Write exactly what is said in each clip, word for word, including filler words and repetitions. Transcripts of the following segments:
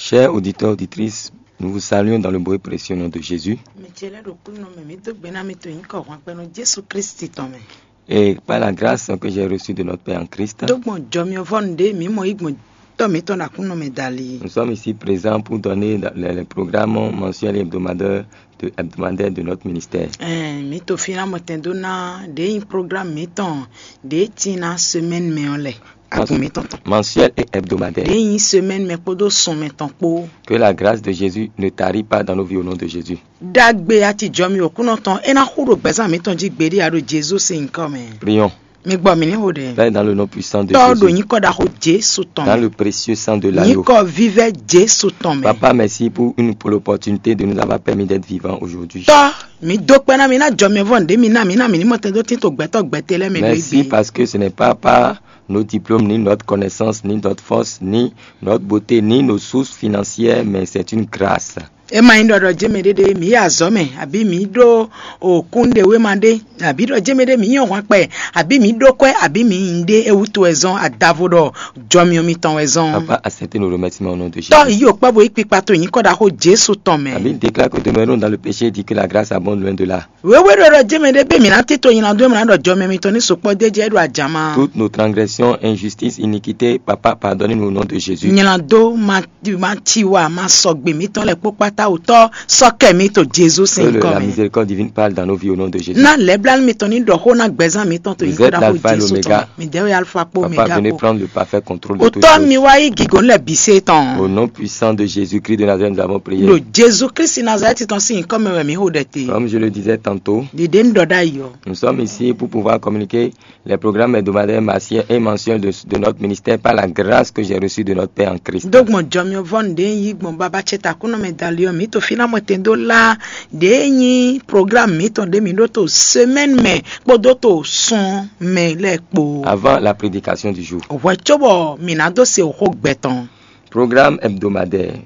Chers auditeurs, auditrices, nous vous saluons dans le beau et précieux nom de Jésus. Mi ce lɛ́ ɖo kúnnu mɛ, mi dó gbe ná mi to nyǐkɔ hwanpɛ́nú Jesu Kristi tɔn mɛ. Et par la grâce que j'ai reçue de notre Père en Christ, Dó gbɔn jɔ mi vɔ nǔɖé mi mɔ yí gbɔn tɔ mǐtɔn ɖo Aklúnɔ mɛ dali. Nous sommes ici présents pour donner le, le programme mensuel et hebdomadaire de, hebdomadaire de notre ministère. Ɛn, mi to fí ná mɔtɛn dó ná ɖě nyí programme mǐtɔn ɖě tin ná semaine mɛ ɔ́ lɛ. Agun mǐtɔn tɔn. Mensuel et hebdomadaire. Ɖě nyí semaine mɛ kpódó sun mɛ tɔn kpó. Que la grâce de Jésus ne tarit pas dans nos vies au nom de Jésus. Ɖagbe acijɔ mi Aklúnɔ tɔn é ná xú ɖo gbɛzán mǐtɔn jí gbeɖé a ɖo Jezu sín nyǐkɔ mɛ. Prions. Mi gbɔ mǐ ní xo ɖɛ. Père, dans le nom puissant de Tɔ́ ɖo Jésus, nyǐkɔ ɖaxó Jesu tɔn dans mɛ. Le précieux sang de l'agneau. Nyǐkɔ vívɛ́ Jesu tɔn mɛ. Papa, merci pour une, pour l'opportunité de nous avoir permis d'être vivants aujourd'hui. Tɔ́, mi dó kpɛ́ ná mi ná jɔ mi vɔ nǔɖé mi ná mi ná mi ní mɔtɛn dó tín to gbɛtɔ́ gbɛtɛ́ lɛ́ɛ mɛ ɖo Merci égbé. Parce que ce n'est pas par nos diplômes, ni notre connaissance, ni notre force, ni notre beauté, ni nos sources financières, mais c'est une grâce. É ma nyí ɖɔ ɖɔ jé mɛ ɖéɖé mǐ yi azɔ̌ mɛ, abǐ mǐ ɖó òkúnɖewéma ɖé, abǐ ɖɔ jé mɛ ɖé mǐ nyɔ́ hwan kpɛ, abǐ mǐ ɖó kwɛ́, abǐ mǐ nyí ɖé é wútu wɛ zɔ́n adavo ɖɔ jɔmyɔ mitɔn wɛ zɔ́n. Papa, acceptez nos remerciements au nom de Jésus. Tɔ́ yí òkpá bo yí kpikpa to nyǐkɔ ɖaxó Jesu tɔn mɛ. La Bible déclare que demeurons dans le péché et dit que la grâce abonde loin de là. Wěwé ɖɔ ɖɔ jé mɛ ɖé bɛ mǐ ná tito nylá dó mǐ ná ɖɔ jɔmɛ mitɔn ní sukpɔ́ d'é jɛ é ɖo ajǎma. Toutes nos transgressions, injustices, iniquités, Papa, pardonnez-nous au nom de Jésus. Nylá dó ma ma ci wa ma sɔgbe mítɔn lɛ kpó kpáta wutɔ́ sɔ́ kɛ mí to Jezu Que sín le- nyǐkɔ la mɛ. Miséricorde divine parle dans nos vies au nom de Jésus. Ná lɛ̌blánú mitɔn ní ɖɔ xó ná gbɛzán mǐtɔn to Vous nyǐkɔ êtes ɖaxó l'alpha et Jezu tɔn l'oméga. Mi dɛ́ wɛ alfa kpó Papa, omega venez kpó. Prendre le parfait contrôle de toutes Wutɔ́ mi choses. Wá yí gǐgó lɛ bǐ sé Au tɔn. Nom puissant de Jésus-Christ de Nazareth, nous avons prié. Ɖo Jezu Kristi Nazalɛ́ti tɔn sín nyǐkɔ mɛ wɛ mǐ xo ɖɛ te. Comme je le disais tantôt, Ɖiɖe ń ɖɔ ɖ'ayǐ ɔ́. Nous sommes ici pour pouvoir communiquer les programmes hebdomadaires, mensuels et mensuels de, de notre ministère par la grâce que j'ai reçue de notre Père en Christ. Dó gbɔn jɔmyɔ vɔ nǔɖé yí gbɔn baba ce takúnɔ mɛ dali ɔ́, mǐ to fí ná mɔtɛn dó lá ɖě nyí programme mǐtɔn ɖě mǐ ɖó to semaine mɛ kpódó to sun mɛ lɛ́ɛ kpó. Avant la prédication du jour. Hwɛ cóbɔ mǐ ná dó se xó gbɛ tɔn. Programme hebdomadaire.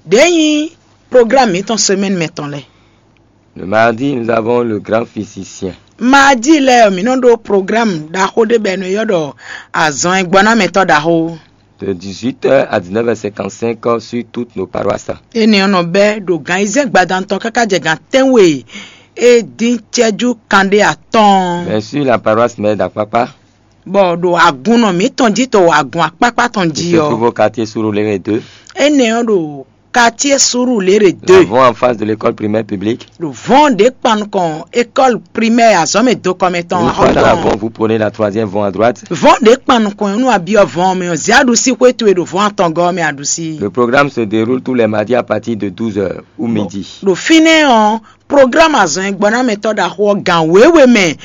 Ɖě nyí programme mǐtɔn semaine mɛ tɔn lɛ́ɛ. Le mardi, nous avons le grand physicien. Mardi lɛ́ɛ ɔ́, mǐ nɔ ɖó programme ɖaxó ɖé bɔ è nɔ ylɔ́ ɖɔ azɔn e gbɔ ná mɛtɔ́ ɖaxó. De dix-huit heures à dix-neuf heures cinquante-cinq sur toutes nos paroisses. Énɛ́ ɔ́ nɔ bɛ́ ɖo gan ayizɛ́n gbadanu tɔn káká jɛ gan tɛ́nwe e dín cɛ́jú kanɖé atɔ́ɔ́n. Bien sûr, la paroisse mère d'Akpakpa. Bɔ ɖo agunnɔ mǐtɔn jí to agun akpákpá tɔn jí Qui se ɔ́, trouve au quartier Surulere deux. Énɛ́ ɔ́ ɖo quartier Surulere deux. L'avons en face de l'école primaire publique. Ɖo vɔn ɖě kpan nukɔn école primaire azɔ̌mɛ dokɔmɛ tɔn Une fois dans la axɔ́tɔn. Vente, vous prenez la troisième vente à droite. Vɔn ɖě kpan nukɔn ɔ́ nú abyɔ vɔn mɛ ɔ́, zě aɖusí xwé towe ɖo vɔn atɔngɔ́ ɔ́ mɛ aɖusí. Le programme se déroule tous les mardis à partir de douze heures ou midi. Ɖo fínɛ́ ɔ́, programme azɔn e gbɔ ná mɛtɔ́ ɖaxó ɔ́ gan wěwe mɛ